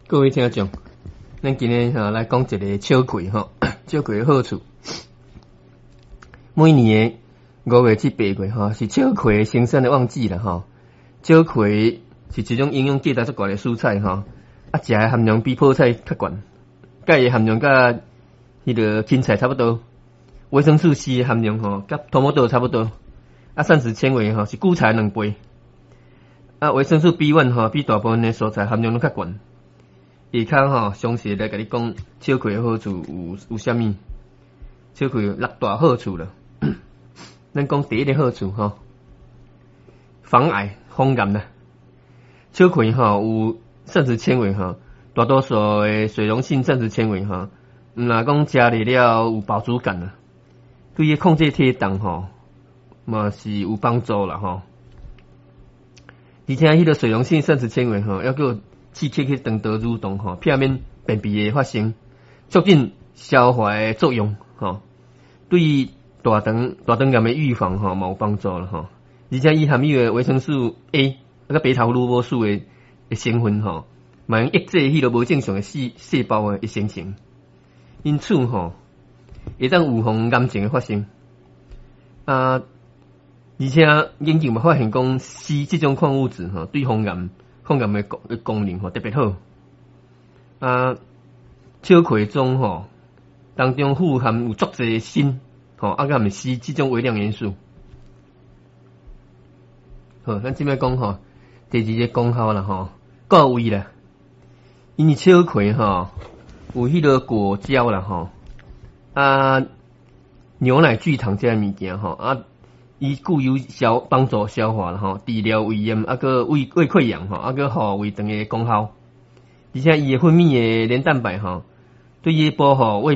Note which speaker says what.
Speaker 1: 各位聽眾，咱今日吼來講一个秋葵吼，秋葵的好處。每年的5月至8月吼，是秋葵生產的旺季啦吼。秋葵是一種營養價值足懸的蔬菜吼，啊，食的含量比泡菜較懸，鈣的含量佮彼个芹菜差不多，維生素 C 的含量吼，佮土毛豆差不多，啊，膳食纖維吼是韭菜2倍，啊，維生素 B1 吼比大部分的蔬菜含量攏較懸。下跤吼，詳細來共你講秋葵的好處有啥物？秋葵有六大好處啦。咱講第一个好處吼，防癌防癌啦。秋葵吼有膳食纖維吼，大多數的水溶性膳食纖維吼，毋若講食入了有飽足感啦，對於控制體重吼嘛是有幫助啦吼。而且彼个水溶性膳食纖維吼，猶閣有刺激彼腸道蠕動吼，避免便秘的發生，促進消化的作用吼，對大腸癌的預防吼嘛有幫助啦吼。而且伊含有的維生素 A 啊佮貝塔胡蘿蔔素的成分吼，嘛會抑制彼个無正常的細胞的生成，因此吼會當預防癌症的發生。啊，而且研究嘛發現講，硒這種礦物質吼，對防癌抗癌的功能吼特別好。啊，秋葵中吼當中富含有足濟鋅吼，啊，佮含硒這種微量元素。好，咱這擺講吼，第二个功效啦吼，顧胃啦。因為秋葵吼有彼个果膠啦吼，啊，牛奶聚糖這个物件吼，啊，伊具有幫助消化啦吼，治療胃炎啊，閣胃潰瘍吼，啊，閣護胃腸的功效。而且伊的分泌的黏蛋白吼，對於保護胃。